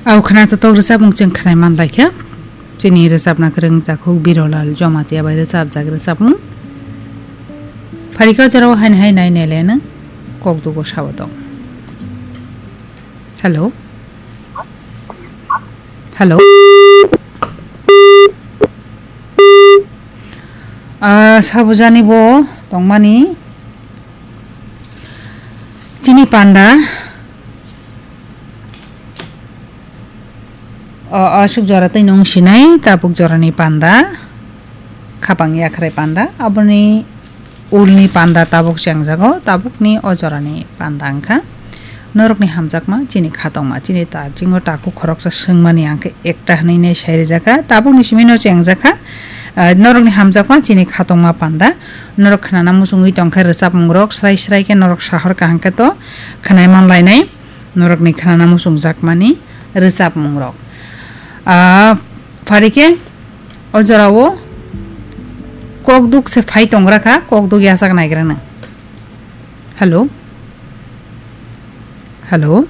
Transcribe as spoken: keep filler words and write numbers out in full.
Au khna to tok rwchapmung chwng khnai man lai kha. Chini rwchapna kwrwng takhuk Birolal Jamatia bai rwchapjak rwchapmung. Pharika jorao haini hai nai nele nang kok dugo sawa tong. Hello. Hello. Ah, sabujani bo tongmani chini panda. O, aswk jora twi nung sinai tabuk jorani panda, khapang yakhrai panda, aboni ulni panda tabuk chengjago, tabukni o jorani panda wngkha. Norokni hamjakma chini khatongma, chini ta-, chingo takhuk khoroksa swngmani ang khe ekta hwnwi nai sai rijak kha, tabukni simi no chengjak kha. Ah, norokni hamjakma chini khatongma panda, norok khnana muchungwi tongkha rwchapmungrok, srai srai khe norok sahor kaham khe to khwnai man lainai. Norokni khnana muchungjakmani rwchapmungrok. Ah, pharikhe o jorao kokduk se phai tongra kha, kokduk yachak naigra nang. Hello? Hello?